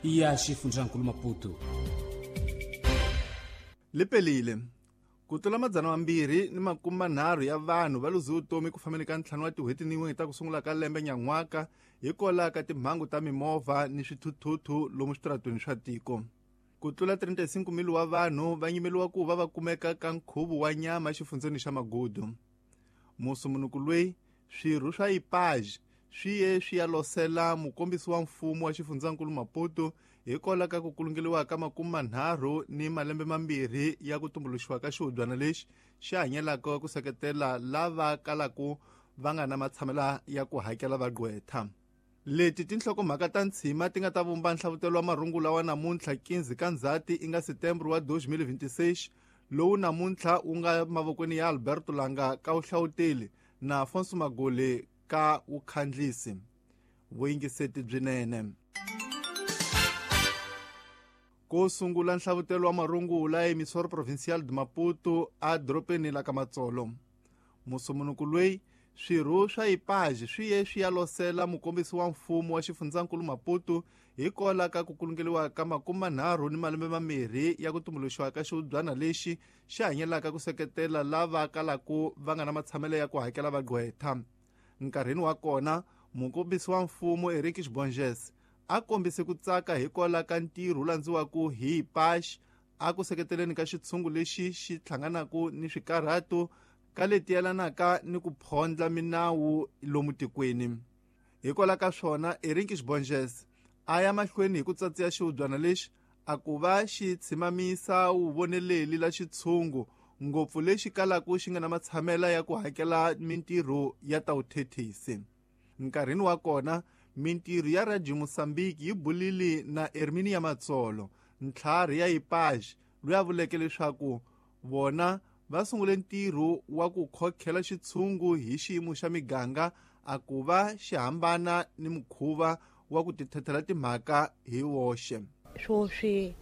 Ya xifundzankulu Maputo. Lipelile ku tlula 230 ya vanhu va luze vutomi ku fambeni ka 5 wa tin'hweti ni 1 ta ku sungula ka lembe nyan'waka hikwalaho ka timhangu ta mimovha ni swithuthuthu lomu switaratweni swa tiko. Ku tlula 35,000 wa vanhu va nyimeliwa ku va va kumeka ka nkhuvo wa nyama exifundzeni xa Magudu. Musumunuku loyi swirho swa IPAJ swi ye swi ya losela mukombisi wa mfumo wa xifundzankulu Maputo hikwalaho ka ku kulungeliwa ka 32 ya ku tumbuluxiwa ka xihubyana lexi xi hanyelaka ku seketela lava kalaka va nga na matshamela ya ku hakela vagqwetha. Leti tinhlokomhaka ta ntshima ti nga ta vumba nhlavutelo wa marungula wa namuntlha 15 ka Ndzhati i nga Setembro wa 2026 lowu namuntlha wu nga mavokweni ya Alberto Langa ka vuhlawuteli na Afonso Magole ka vukhandlisi. Vuyingiseti byinene. Ko sungula nhlavutelo wa marungula emisoro provincial de Maputo a doropeni la ka Matsolo. Musumunuku loyi swirho swa IPAJ swi ye swi ya losela mukombisi wa mfumo wa xifundzankulu Maputo hikwalaho ka ku kulungeliwa ka 32 ya ku tumbuluxiwa ka xihubyana lexi xi hanyelaka ku seketela lava kalaka va nga na matshamelo ya ku hakela vagqwetha. Nkarhini wa kona mukombisi wa mfumo Eric Bonges a kombise ku tsaka hikwalaho ka ntirho wu landziwaka hi IPAJ a ku seketeleni ka xitshungu lexi xi hlanganaka ni swikarhato ka leti yelanaka ni ku phondla minawu lomu tikweni. Hikwalaho ka swona Eric Bonges a ya mahlweni hi ku tsatsiya xihubyana lexi a ku va xi tshimamisa wuvoneleli la xitshungu ngopfu lexi kalaka xi nga na matshamela ya ku hakela mintirho ya ta vuthethisi. Nkarhini wa kona mintirho ya Radio Mozambique yi bulile na Herminia Matsolo ntlhari ya IPAJ loyi a vuleke leswaku vona va sungule ntirho wa ku khokhela xitshungu hi xiyimo xa miganga a ku va xi hambana ni mukhuva wa ku tithethela timhaka hi woxe. Swoswi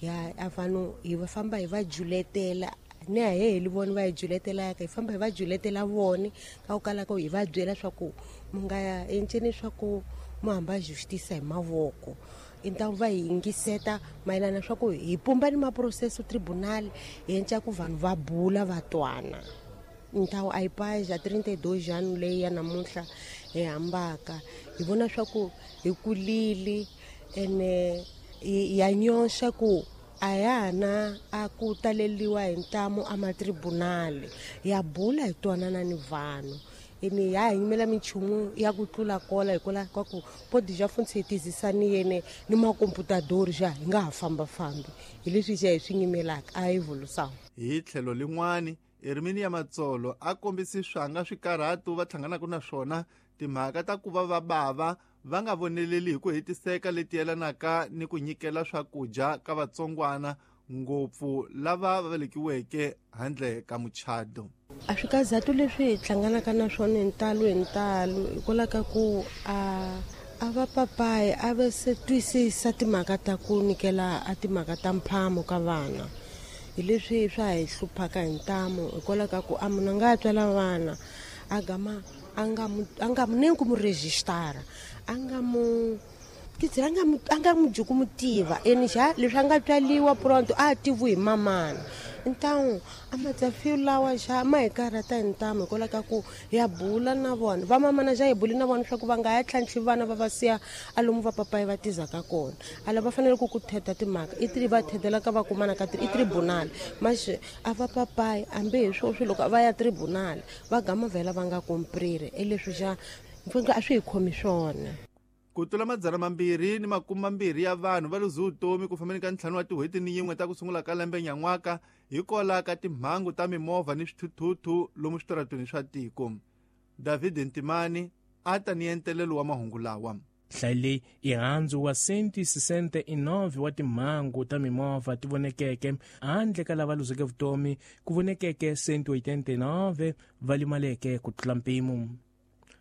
ya a vanhu hi va famba hi va juletela ni a he heli vona va hi juletelaka hi famba hi va juletela vona ka ku kala ka hi va byela swa ku mu nga ya enceni swa ku mu hamba justice hi mavoko i ta va hi yingiseta mayelana swa ku hi pumba ni maprocesso tribunal hi enca ku vanhu va bula va twana. Ntawu a IPAJ a 32 anos leyi ya namuntlha hi hambaka hi vona swa ku hi kulile ene ya nyoxa ku a ya ha na a ku taleliwa hi ntamu a matribunali ya bula hi twanana ni vanhu ene ya hi yimela minchumu ya ku tlula kola hikwalaho ka ku podi ja funtsi hi tizisani yene ni makomputadori ja hi nga ha fambafambi hi leswi ja hi swi nyimelaka a evolução. Hi tlhelo lin'wani Herminia Matsolo a kombisi swanga swikarhato va hlanganaka na swona timhaka ta ku va va bava va nga voneleli hi ku hetiseka leti yelanaka ni ku nyikela swakudya ka vatsongwana ngopfu lava va velekiweke handle ka muchado. A swikazatu leswi hi hlanganaka na swona hi ntalo hi ntalo hikwalaho ka ku a va papayi a va se twisisa timhaka ta ku nyikela a timhaka ta mphamo ka vana hi leswi swa hi hluphaka hi ntamu hikwalaho ka ku a munhu a nga tswala vana a gama a nga mu ni ku mu registara a nga mu titsela a nga mu dyi ku mu tiva ene xa leswi a nga tswaliwa pronto a tivi hi mamana ntamu a matsafiyo lawa xa ma hi karhata hi ntamu hikwalaho ka ku ya bula na vona va mamana xa hi buli na vona swa ku va nga ya tlhantlhi vana va va siya a lomu va papayi va tizaka kona ala va fanele ku ku theta timhaka i tri va thethela ka va kumana ka i tribunal maxe a va papayi hambi hi swoswi loko va ya tribunal va gama vhela va nga komprire e leswi xa a swi hi khomi swona. Ku tlula 220 ya vanhu va luze vutomi ku fambeni ka 5 wa tin'hweti ni 1 ta ku sungula ka lembe nyan'waka hikwalaho ka timhangu ta mimovha ni swithuthuthu lomu switaratweni swa tiko. David Ntimani a ta ni entelelo wa mahungu lawa. Nhlayo leyi i handzu wa 169 wa timhangu ta mimovha ti vonekeke handle ka lava luzeke vutomi ku vonekeke 189 va limaleke ku tlula mpimo.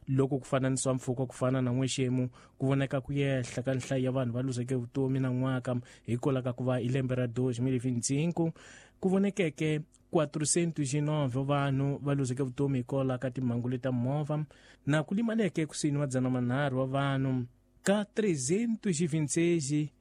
Loko ku fananisiwa mpfhuka ku fana na n'wexemu ku voneka ku yehla ka nhlayo ya vanhu va luzeke vutomi na n'waka hikwalaho ka ku va hi lembe ra 2025 ku vonekeke 409 vanhu va luzeke vutomi hikwalaho ka timhangu leta movha na ku limaleke kusuhi ni 300 wa vanhu ka 326.